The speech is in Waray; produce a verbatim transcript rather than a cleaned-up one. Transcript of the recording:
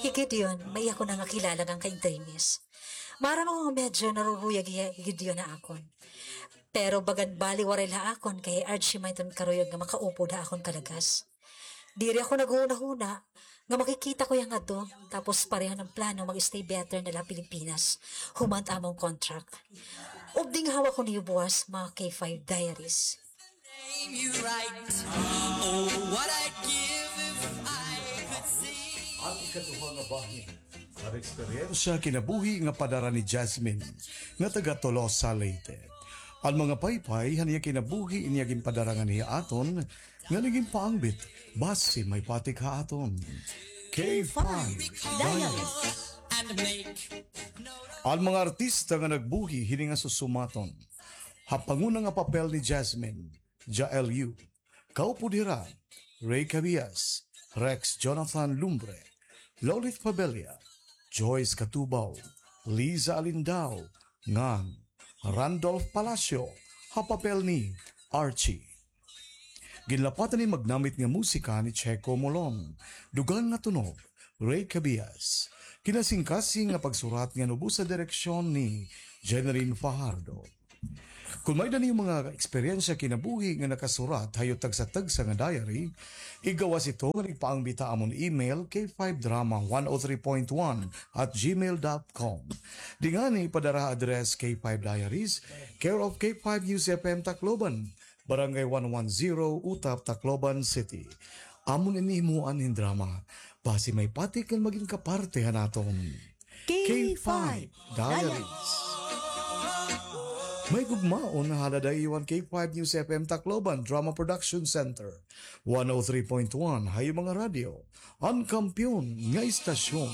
Hi Gideon, may iya ko na nga kilala nga kaintrimis. Maaram ako nga medyo naruruyag hiya hi Gideon ha akon. Pero bagan bali waray la ha akon kay Archie may iton karuyag nga makaupod ha akon kalagas. Diri ako naghunahuna nga makikita ko hiya ngadto, tapos pareho an plano mag-stay better na la ha Pilipinas human amon contract. Ubding hawa ko niyo buwas, mga K five Diaries. Name you right. Oh, what I'd give if I could see. An ikaduha nga bahin, an eksperyensya kinabuhi nga padara ni Jasmine, nga taga Tolosa, Leyte. An mga paypay han iya kinabuhi, ini iya ginpadara nganhi ha aton, nga nagin paangbit, basi may patik ha aton. K five Diaries. And make An mga artista nga nagbuhi hini nga susumaton. Ha panguna nga papel ni Jasmine, Jael Yu. Kaupod hira, Ray Cabias, Rex Jonathan Lumbre, Lolith Fabella, Joyce Catubao, Liza Alindao, ngan Randolph Palacio, ha papel ni Archie. Ginlapatan ni magnamit nga musika ni Checo Molon, dugan nga tunog, Ray Cabias. Kinasingkasing nga pagsurat ngan ubos sa direksyon ni Jeneline Fajardo. Kon may-ada niyo mga eksperyensya kinabuhi nga nakasurat ha iyo tagsa-tagsa nga diary, igawas ito ngan igpaangbit ha amon email, K five drama one oh three point one at gmail dot com. Di ngani ipadara ha address K five Diaries, care of K five News F M Tacloban, Barangay one one zero, Utap, Tacloban City. Amon ini himuan hin drama, basi may patik ngan magin kaparte han aton K five Diaries. May gugmaon, halad ha iyo an K five News F M Tacloban Drama Production Center, one oh three point one ha iyo mga radyo, an kampiyon nga istasyon.